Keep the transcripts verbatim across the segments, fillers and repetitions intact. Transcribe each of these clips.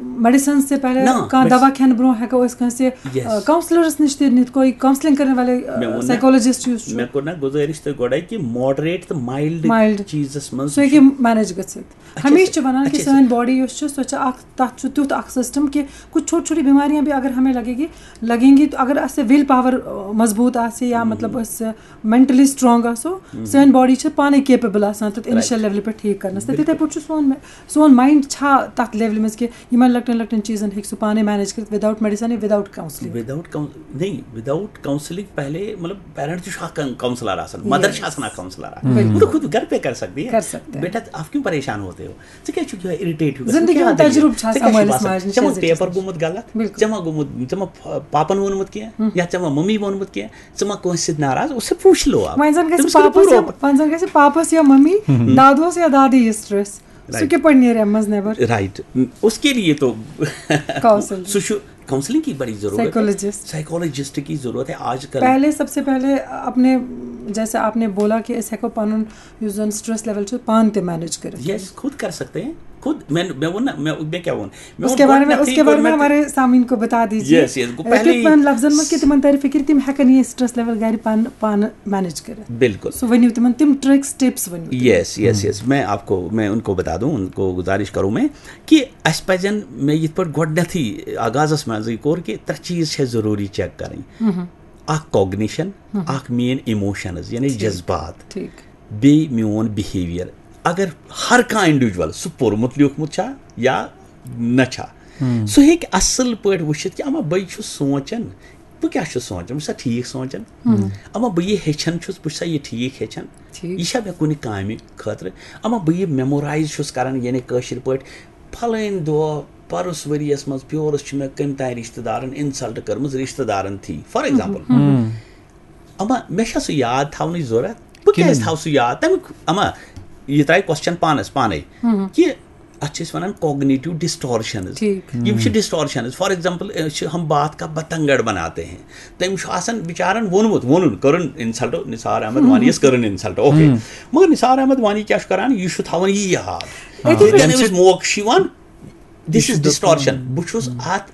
Medicine سے پہلے نہ، کانٛہہ medicine- دوا کھٮ۪نہٕ برونٛہہ ہیٚکو أسۍ کٲنٛسہِ Yes. کاونسلرس نِش تہِ نِتھ، کوئی کاونسلنگ کرنے والے مےٚ ووٚن نا- سائیکولوجسٹ یُس چھُ۔ مےٚ کوٚر نا گُزٲرِش تۄہہِ گۄڈے کہِ moderate تہٕ mild Mild. چیٖزس منٛز سُہ ہیٚکہِ مینیج گٔژھِتھ۔ اچھا، ہمیشہِ چھِ ونان کہِ اچھا، سٲنۍ باڈی یۄس چھِ، سۄ چھِ اکھ، تتھ چھُ تیُتھ اکھ سسٹم کہِ کچھ چھوٹی چھوٹی بیماریاں بھی اگر ہمیں لگے گی، لگیں گی، تو اگر اسہِ وِل پاور مضبوط آسہِ یا مطلب أسۍ مینٹلی سٹرانگ آسو، سٲنۍ باڈی چھِ پانے کیپیبل آسان تتھ انیشل لیولہِ پٮ۪ٹھ ٹھیٖک کرنس۔ تہٕ تِتھے پٲٹھۍ چھُ سون، سون ماینڈ چھا تتھ لیولہِ منٛز کہِ یِمن لۄکٹٮ۪ن لۄکٹٮ۪ن چیٖزن ہیٚکہِ سُہ پانے مینیج کٔرِتھ without medicine یا without counselling؟ وداؤٹ نہیں، وداؤٹ کاؤنسلنگ پہلے، مطلب، پیرنٹ تہِ چھُ اکھ کاؤنسلر آسان، مدر Yes. چھِ آسان اکھ کاؤنسلر۔ بالکل۔ وہ تو خود گھر پہ کر سکتی ہے۔ کر سکتے ہیں۔ بیٹا، آپ کیوں پریشان ہوتے ہو؟ ژٕ کیٛاہ چھُکھ یِہوٚے اِرِٹیٹ ہیوٗ گژھان؟ زندگی کیٛاہ ہُنٛد دٔلیٖل؟ تجرُبہٕ چھُ ژےٚ آسان کیٛاہ چھُے مٲلِس باسان؟ ماجہِ نِش ژےٚ ما اَسہِ پیپر گژھِ۔ گوٚمُت غلط؟ بالکل۔ ژےٚ ما گوٚمُت، ژےٚ ما پا-، پاپن ووٚنمُت کینٛہہ؟ یا ژےٚ ما ممی ووٚنمُت کینٛہہ؟ ژٕ ما کٲنٛسہِ سۭتۍ ناراض؟ اس سے پوچھ لو آپ۔ وۄنۍ زن گژھِ تٔمِس کٔرِو پاپس یا، پوٗرٕ وۄنۍ زن گژھِ پاپس یا ممی، دادوس یا دادی یہِ سٹریس، سُہ Right. کِتھ پٲٹھۍ نیرِ امہِ منٛز نٮ۪بر؟ رائٹ، اس کے لیے تو Counselling. سُہ چھُ، کاؤنسلنگ کی بڑی ضرورت ہے، Psychologist. سائیکولوجسٹ کی ضرورت ہے آج کل۔ پہلے، سب سے پہلے اپنے، جیسے آپ نے بولا کہ أسۍ ہیٚکو پنُن یُس زن سٹریس لیول چھُ پانہٕ تہِ مینیج کٔرِتھ۔ یس، خود کر سکتے ہیں، خود۔ میں، میں وہ نا، میں، میں کیا ووٚن؟ اس کے بارے میں، اس کے بارے میں ہمارے سامعین کو بتا دیجیے۔ یس، یس، گوٚو پہلے تِمن لفظن منٛز کہِ تِمن ترِ فکر، تِم ہیٚکن یہِ سٹریس لیول گرِ پانہٕ، پانہٕ مینیج کٔرِتھ۔ بالکل۔ سُہ ؤنِو تِمن، تِم ٹرکس، ٹپس ؤنِو تِم۔ یس، یس، یس، میں آپ کو، میں ان کو بتا دوں، ان کو گزارش کروں میں کہ اسہِ پزن، مےٚ یِتھ پٲٹھۍ گۄڈٕنیتھٕے آغازس منٛزٕے کوٚر کہِ ترٛےٚ چیٖز چھِ ضروٗری چیک کرٕنۍ۔ اکھ کوگنیشن، اکھ میٲنۍ ایموشنز، یعنی جذبات، ٹھیٖک۔ بیٚیہِ میون بِہیویئر۔ اگر ہر کانٛہہ انڈیویجول سُہ پوٚرمُت لیوٗکھمُت چھا یا نہ چھا، سُہ ہیٚکہِ اصل پٲٹھۍ وٕچھِتھ کہِ اما بہٕ چھُس سونٛچان، بہٕ کیٛاہ چھُس سونٛچان، بہٕ چھُسا ٹھیٖک سونٛچان؟ اما بہٕ یہِ ہیٚچھان چھُس، بہٕ چھُسا یہِ ٹھیٖک ہیٚچھان؟ ٹھیٖک۔ یہِ چھا مےٚ کُنہِ کامہِ خٲطرٕ؟ اما بہٕ یہِ میمورایز چھُس کران، یعنی کٲشِر پٲٹھۍ، پھلٲنۍ دۄہ پرُس ؤریَس منٛز پیورُس چھُ مےٚ کٔمۍ تام رِشتہٕ دارن انسلٹ کٔرمٕژ، رِشتہٕ دارن تھی، فار ایگزامپل۔ اما مےٚ چھا سُہ یاد تھاونٕچ ضوٚرتھ؟ بہٕ کیٛازِ تھاوٕ سُہ یاد؟ تَمیُک، اما یہِ ترٛایہِ کوسچن پانس پانے کہِ اتھ چھِ أسۍ ونان کوگنیٹو ڈسٹورشنز۔ ٹھیٖک۔ یِم چھِ ڈسٹورشنز۔ فار ایگزامپل، چھِ ہم بات کا بتنگڑ بناتے ہیں۔ تٔمۍ چھُ آسان بِچارن ووٚنمُت، ووٚنُن، کٔرٕن انسلٹ، نثار احمد وانی یس کٔرٕن انسلٹ، اوکے۔ مگر نثار احمد وانی کیٛاہ چھُ کران؟ یہِ چھُ تھاوان یی یاد۔ أتی ییٚتٮ۪ن أمِس موقعہٕ چھُ یِوان، this is distortion۔ بہٕ چھُس اتھ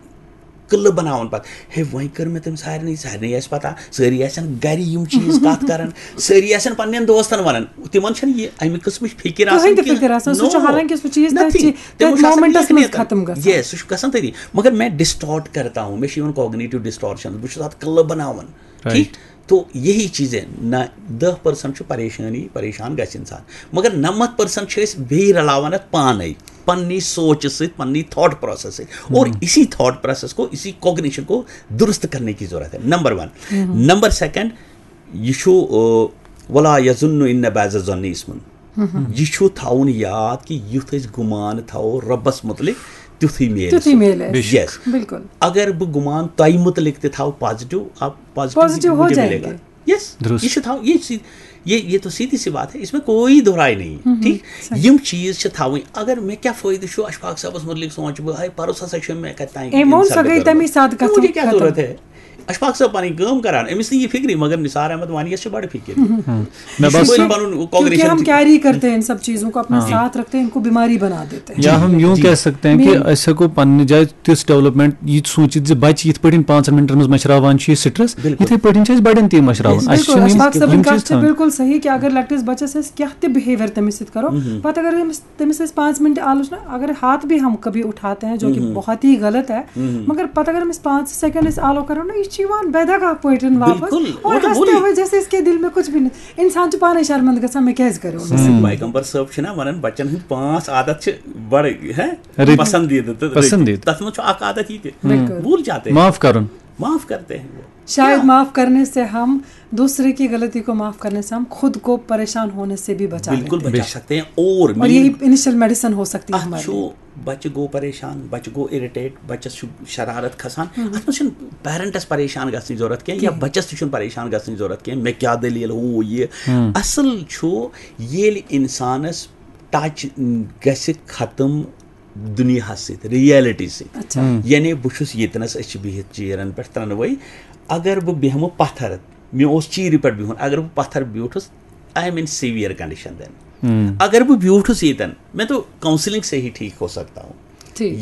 قلعہٕ بناوان پتہٕ، ہے، وۄنۍ کٔر مےٚ تٔمۍ سارنٕے، سارنٕے آسہِ پتہ، سٲری آسن گرِ یِم چیٖز کتھ کران، سٲری آسن پننٮ۪ن دوستن ونان، تِمن چھنہٕ یہِ امہِ قٕسمٕچ فکر آسان کٕہٕنۍ تہِ کینٛہہ۔ فکر آسان، سُہ چھُ No، حالانکہ سُہ چیٖز تٔتھۍ nothing۔ چی-، تِمو تٔتھۍ چھُ آسان مومنٹس لیکھنٕے منٛز یوتن۔ ختم گژھان۔ Yes، سُہ چھُ گژھان تٔتی۔ مگر میں ڈسٹارٹ کرتا ہوں، مےٚ چھُ یِوان کوگنیٹو ڈسٹارشن، بہٕ چھُس اتھ قلعہٕ بناوان۔ Right۔ ٹھیٖک؟ تو یہی چیزیں، نہ، دہ پرسنٹ چھُ پریشٲنی، پریشان گژھِ انسان، مگر نمتھ پرسنٹ چھِ أسۍ بیٚیہِ رلاوان اتھ پانے، پننی سوچہِ سۭتۍ، پننی تھاٹ پروسیس سۭتۍ۔ اور اسی تھاٹ پروسیس کو، اسی کوگنیشن کو درست کرنے کی ضرورت ہے، نمبر ون۔ نمبر سیکنڈ، یہِ چھُ، آ، ولا یظن ان بعض الظن اسم۔ یہِ چھُ تھاوُن یاد کہِ یُتھ أسۍ گُمان تھاوو رۄبس مُتعلق، تیُتھُے میلہِ تیُتھُے سُہ۔ میلہِ اَسہِ۔ Yes۔ بالکل۔ اگر بہٕ گُمان تۄہہِ مُتعلق تہِ تھاوٕ پازیٹو، آپ پازیٹو پازیٹو ہو مجھے جائیں ملے گا۔ گے۔ یس، درست۔ یہِ چھُ تھاوُن، یہِ چھِ، یہِ، یہِ تو سیدھی سی بات ہے، اس میں کوئی دہرائی نہیں ہے، ٹھیک؟ یِم چیٖز چھِ تھاوٕنۍ۔ اگر مےٚ کیٛاہ فٲیدٕ چھُ اشفاق صٲبس مُتعلق سونٛچہٕ بہٕ، ہے، پرُس ہسا چھُ مےٚ کتہِ تام أمۍ ووٚن، انسلٹ سۄ گٔے کٔرمٕژ۔ تَمی ساتہٕ تہٕ کَتھ مُجھے کیٛاہ ختم۔ ضروٗرت ہے؟ اشفاق صٲب پنٕنۍ کٲم کران، أمِس نہٕ یہِ فِکرِ، مگر نثار احمد وانی یس چھِ بڑٕ فِکر۔ مےٚ کیونکہ باسان ہم، کیونکہ ہم کیری کرتے ہیں ان سب چیزوں کو، اپنے ساتھ رکھتے ہیں، ان کو بیماری بنا دیتے ہیں۔ یا ہم یوں جی۔ کہہ سکتے ہیں کہ مین- أسۍ ہٮ۪کو پننہِ جایہِ تِژھ ڈیولپمنٹ یہِ سوٗنٛچِتھ زِ بچہِ یِتھ پٲٹھۍ پانٛژن منٹن منٛز مٔشراوان چھُ یہِ سٹریس، بالکل۔ یِتھے پٲٹھۍ چھِ أسۍ بڑٮ۪ن تہِ مٔشراوان۔ Yes، اَسہِ چھِ بالکل، یِم، اشفاق صٲبٕنۍ یِم کتھ چیٖز چھِ تھاوٕنۍ۔ بالکل صحیح کہ اگر لۄکٹِس بچس أسۍ کیٛاہ تہِ بہیویئر تٔمِس سۭتۍ کرو، پتہٕ اگر أمِس، تٔمِس أسۍ پانٛژھ منٹ آلس نہ، اگر ہاتھ بھی ہم کبھی اٹھاتے ہیں جو کہ بہت ہی غلط ہے، مگر پتہٕ اگر أمِس پانٛژھ سیکنڈ أسۍ آلو کرو نا، یہِ چھُ یِوان بے دغہ پٲٹھۍ واپس بالکل، اور وہ تو ہنستے بولی۔ ہوئے جیسے اس کے دل میں کچھ بھی نہیں۔ انسان چھُ پانے شرمندٕ گژھان، مےٚ کیٛازِ کریو نہٕ؟ سٲنۍ پیغمبر صٲب چھِ نا ونان، بچن ہٕنٛدۍ پانٛژھ عادت چھِ بڑٕ، ہے، رٕتۍ۔ پسندیدٕ تہٕ رٕتۍ۔ پسندیدٕ۔ تتھ منٛز چھُ اکھ عادت یہِ تہِ، بالکل۔ بھول جاتے ہیں۔ معاف کرُن۔ معاف کرتے ہیں وہ۔ شاید معاف کرنے سے ہم، دوسرے کی غلطی کو معاف کرنے سے ہم خود کو پریشان ہونے سے بھی بچا بالکل لیتے ہیں۔ بچا سکتے ہیں۔ اور اور مین یہی انیشل میڈیسن ہو سکتی ہے اتھ ہمارے چھُ لیے۔ بچہِ گوٚو پریشان، بچہِ گوٚو اِرِٹیٹ، بچس چھُ شرارت کھسان۔ اتھ منٛز چھُنہٕ پیرنٹس پریشان گژھنٕچ ضروٗرت کینٛہہ یا بچس تہِ چھُنہٕ پریشان گژھنٕچ ضروٗرت کینٛہہ، مےٚ کیٛاہ دٔلیٖل، ہُہ یہِ۔ اصل چھُ ییٚلہِ انسانس ٹچ گژھِ ختم دُنیاہس سۭتۍ، ریالٹی سۭتۍ۔ اچھا۔ یعنی بہٕ چھُس ییٚتنس، أسۍ چھِ بِہِتھ چیرن پٮ۪ٹھ ترٛنوَے۔ اگر بہٕ بیٚہمہٕ پتھر، مےٚ اوس چیرِ پٮ۪ٹھ بِہُن، اگر بہٕ پتھر بیوٗٹھُس، I am in severe condition then۔ اگر بہٕ بیوٗٹھُس ییٚتٮ۪ن، میں تو کاؤنسلنگ سے ہی ٹھیک ہو سکتا ہوں۔ ٹھیٖک۔